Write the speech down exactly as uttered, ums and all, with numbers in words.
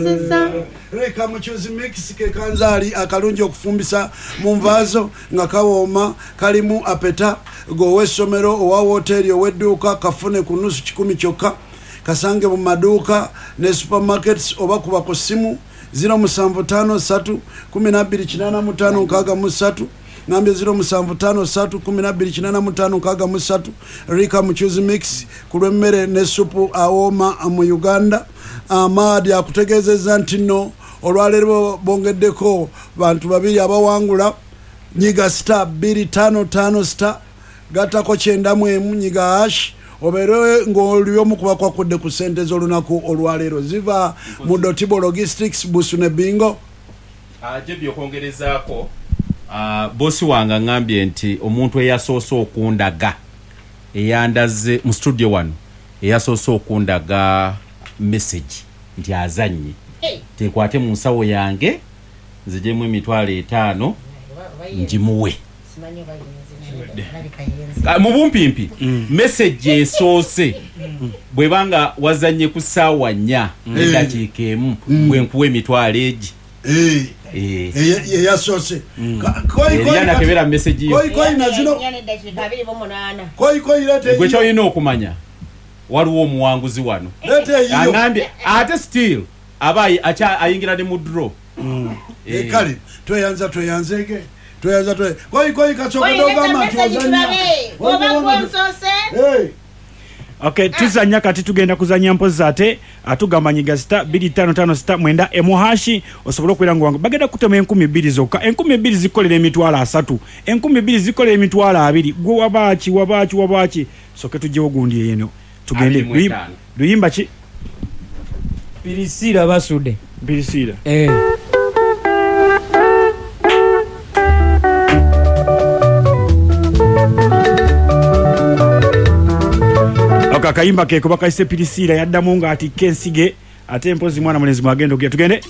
Tweyanziza. Reka Muchuzi Mix ke kanzaali akalungi okufumbisa mu nvaazo nga kawooma, kalimu apeta g'ow'essomero, owa woteeri, ow'edduuka. Kafune ku nusu kikumi kyokka, kasange mu maduuka ne supermarkets, oba kuba ku ssimu zero musanvu ttaano ssatu kumi na bbiri kinaana mu ttaano nkaaga mu ssatu. Ngambye zero musanvu ttaano ssatu kumi na bbiri kinaana mu ttaano nkaaga mu ssatu. Rika Muchuzi Mix ku lw'emmere ne supu awooma mu Uganda. Amaadi akutegeezezza nti nno olwaleero bongeddeko bantu babiri abawangula. Nyiga star bbiri ttaano ttaano star gattako kyenda mu emu, nyiga hash, obeere ng'oli omu kuba kwakudde ku ssente z'olunaku olwaleero ziva mu Dotibo Logistics Busu ne Bingo. Jebi, okwongerezaako, ah, bosi wange aŋŋambye nti omuntu eyasoose okundaga, eyandaze mu studio wano, eyasoose okundaga message nti azannye, tekwate mu nsawo yange nzijemu emitwalo etaano ngimuwe. Ah, mu bumpimpi, message esoose bwebanga wazanye ku ssaawa nnya neddakiika emu, bwe nkuwa emitwalo egi. Eh, Eh. eye- yeyasoose Ka- koyi- Eriya koyi- nakebera message yo. Koyi koyi nazino. Neddakiika abiri mu munaana. Koyi koyi, leeta Gwe eyiyo. kyolina okumanya, waliwo omuwanguzi wano. Leeta eyiyo. Aŋambye ate still aba ayi- akya- ayingira ne mu draw. Eh, kale tweyanza, tweyanzege, tweyanza, twe koyi koyi kasooka dogamba nti ozannya. Oba gwensoose. Eh, Okay, tuzanya kati, tugenda kuzanya mpozi ate atugamba nyiga star bbiri ttaano ttaano star mwenda emu hash osobole okubeera nga wangu. Bagenda kutema enkumi bbiri zokka. Enkumi bbiri zikolera emitwalo asatu, enkumi bbiri zikolera emitwalo abiri. Gwe wabaaki, wabaaki, wabaaki? Soke tugyewo gundi eno tugende. Abiri mu Luyimba- etaano. Luyimba ki? Pirisiira basudde. Pirisiira. Eh. Ako akayimba keko bakayise Pirisiira. Yaddamu ng'atikka ensige ate mpozi mwana mulenzi mwagenda okugira. Tugende.